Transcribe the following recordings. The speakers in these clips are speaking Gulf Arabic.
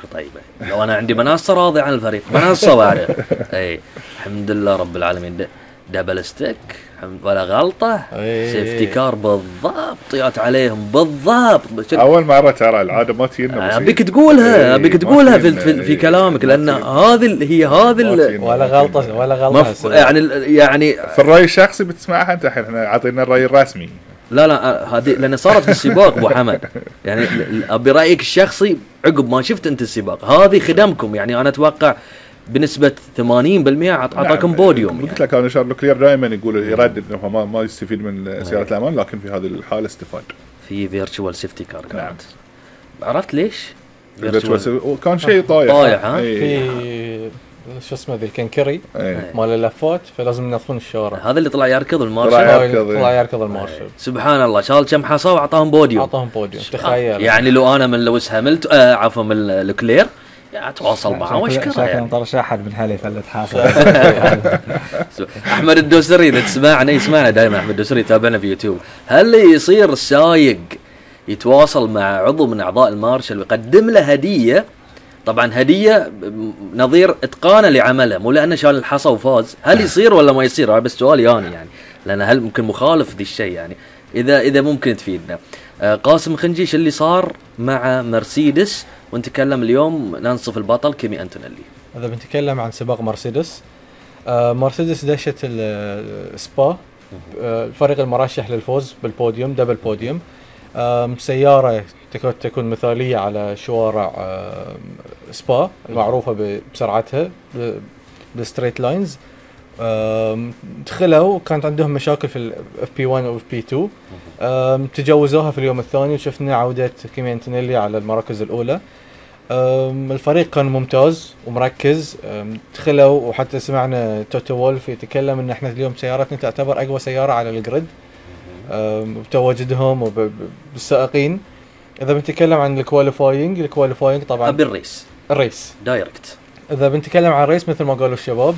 فكرة طيبة. لو أنا عندي منصة راضي عن الفريق منصة بعد أي الحمد لله رب العالمين. دبل ستيك ولا غلطة. سيفتي كار بالضبط طيات عليهم بالضبط. أول مرة ترى العادة ما تجينا. أبيك تقولها أبيك تقولها في كلامك لأن هذه هي هذه ولا غلطة ولا غلطة يعني في الرأي الشخصي بتسمعها أنت الحين. إحنا عطينا الرأي الرسمي. لا هذه لأن صارت في السباق أبو حمد. يعني أبي رأيك الشخصي عقب ما شفت أنت السباق هذه خدمكم. يعني أنا أتوقع بنسبة 80% عطاكم بوديوم. قلت لك أنا شارل كلير دائما يقول يرد إنه ما يستفيد من سيارة الأمان لكن في هذه الحالة استفاد في فيرتشوال سيفتي كار. نعم. عرفت ليش؟ كان شيء طايح ها؟ في شو اسمه ذي الكنكري مال اللفات فلازم ينظفون الشارع. هذا اللي طلع يركض المارشل. طلع يركض المارشل. سبحان الله شال كم حصى وعطاهم بوديوم. تخيل. يعني لو أنا من لويس هاملتون عفوا من لوكلير أتواصل معه وش كذا يعني. طرش أحد من حالي فلت حاصل. أحمد الدوسري إذا تسمعنا يسمعنا دائما. أحمد الدوسري يتابعنا في يوتيوب. هل يصير السايق يتواصل مع عضو من أعضاء المارشل ويقدم له هدية؟ طبعا هدية نظير إتقانه لعمله مو لأنه شال الحصى وفاز. هل يصير ولا ما يصير؟ بس سؤال يعني لأن هل ممكن مخالف ذي الشيء يعني إذا ممكن تفيدنا. قاسم خنجيش اللي صار مع مرسيدس ونتكلم اليوم ننصف البطل كيمي أنتونيلي. إذا بنتكلم عن سباق مرسيدس مرسيدس دشت السبا الفريق المرشح للفوز بالبوديوم دبل بوديوم. سيارة تكون مثالية على شوارع سبا المعروفة بسرعتها بالستريت لاينز. دخلوا كانت عندهم مشاكل في الاف بي 1 و بي 2 تجاوزوها في اليوم الثاني وشفنا عودة كيمي أنتونيلي على المراكز الأولى. الفريق كان ممتاز ومركز. دخلوا وحتى سمعنا توتو وولف يتكلم ان احنا اليوم سيارتنا تعتبر اقوى سيارة على الجريد بتواجدهم وبالسائقين. اذا بنتكلم عن الكواليفاينج طبعا الريس دايركت. اذا بنتكلم عن الريس مثل ما قالوا الشباب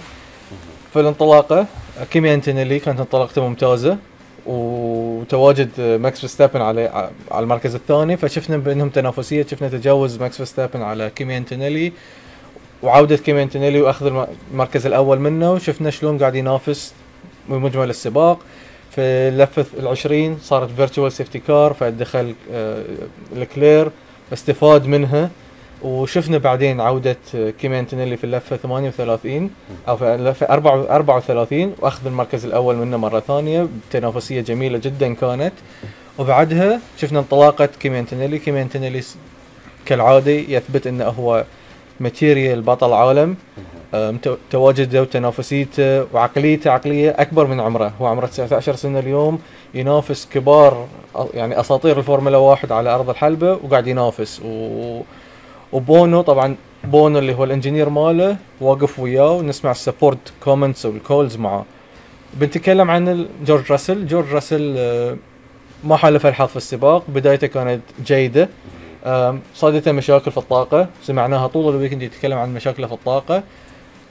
في الانطلاقة كيمي أنتونيلي كانت انطلاقته ممتازة وتواجد ماكس فيرستابن على المركز الثاني فشفنا بأنهم تنافسية. شفنا تجاوز ماكس فيرستابن على كيمي أنتونيلي وعودة كيمي أنتونيلي وأخذ المركز الأول منه وشفنا شلون قاعد ينافس بمجمل السباق. في اللفة 20 صارت فيرتشوال سيفتي كار فدخل لكلير استفاد منها وشفنا بعدين عودة كيمي أنتونيلي في اللفة 38 أو في اللفة 34 وأخذ المركز الأول منه مرة ثانية بتنافسية جميلة جدا كانت. وبعدها شفنا انطلاقة كيمي أنتونيلي كالعادة يثبت أنه هو ماتيريال بطل عالم. تواجده وتنافسيته وعقليته عقلية أكبر من عمره. هو عمره 19 سنة اليوم ينافس كبار يعني أساطير الفورمولا 1 على أرض الحلبة وقاعد ينافس وبونو طبعا بونو اللي هو الانجينير ماله واقف وياه ونسمع السبورت كومنتس والكولز معه. بنتكلم عن جورج راسل ما حالف الحظ في السباق. بدايته كانت جيدة. صادته مشاكل في الطاقة سمعناها طول الويكند يتكلم عن مشاكله في الطاقة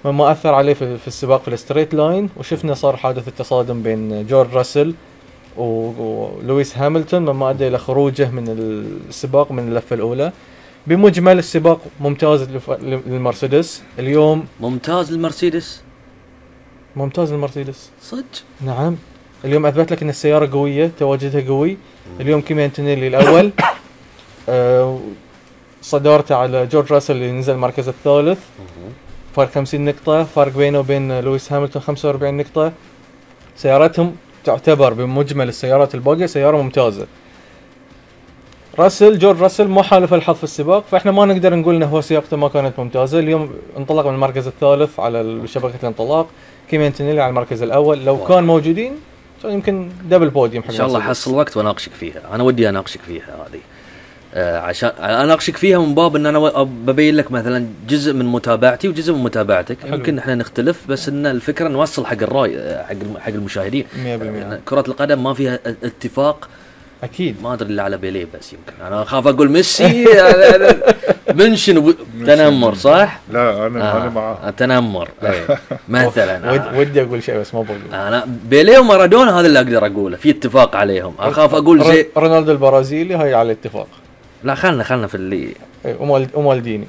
مما أثر عليه في السباق في الستريت لاين. وشفنا صار حادث التصادم بين جورج راسل ولويس هاملتون مما أدى إلى خروجه من السباق من اللفة الأولى. بمجمل السباق ممتاز للمرسيدس اليوم. ممتاز المرسيدس صدق. نعم اليوم أثبت لك أن السيارة قوية تواجدها قوي. اليوم كيمي أنتونيلي الأول صدارته على جورج راسل اللي نزل المركز الثالث فرق 50 نقطة. فرق بينه وبين لويس هاملتون 45 نقطة. سيارتهم تعتبر بمجمل السيارات الباقية سيارة ممتازة. جورج راسل ما حالف الحظ في السباق فإحنا ما نقدر نقول إنه هو سياقته ما كانت ممتازة. اليوم انطلق من المركز الثالث على شبكة الانطلاق. كيمي أنتونيلي على المركز الأول. لو كان موجودين يمكن دبل بوديوم. إن شاء الله حصل وقت وأناقشك فيها. أنا ودي أناقشك فيها هذه عشان أناقشك فيها من باب إن أنا ببين لك مثلا جزء من متابعتي وجزء من متابعتك. يمكن إحنا نختلف بس إن الفكرة نوصل حق الرأي حق المشاهدين. 100% كرة القدم ما فيها اتفاق أكيد. ما أدري اللي على بيليه بس يمكن أنا أخاف أقول ميسي منشن تنمر صح؟ لا أنا معه تنمر مثلا ودي أقول شيء بس ما بقول. أنا بيليه ومارادونا هذا اللي أقدر أقوله في اتفاق عليهم. أخاف أقول زي رونالدو البرازيلي هاي على اتفاق. لا خلنا في اللي ومالديني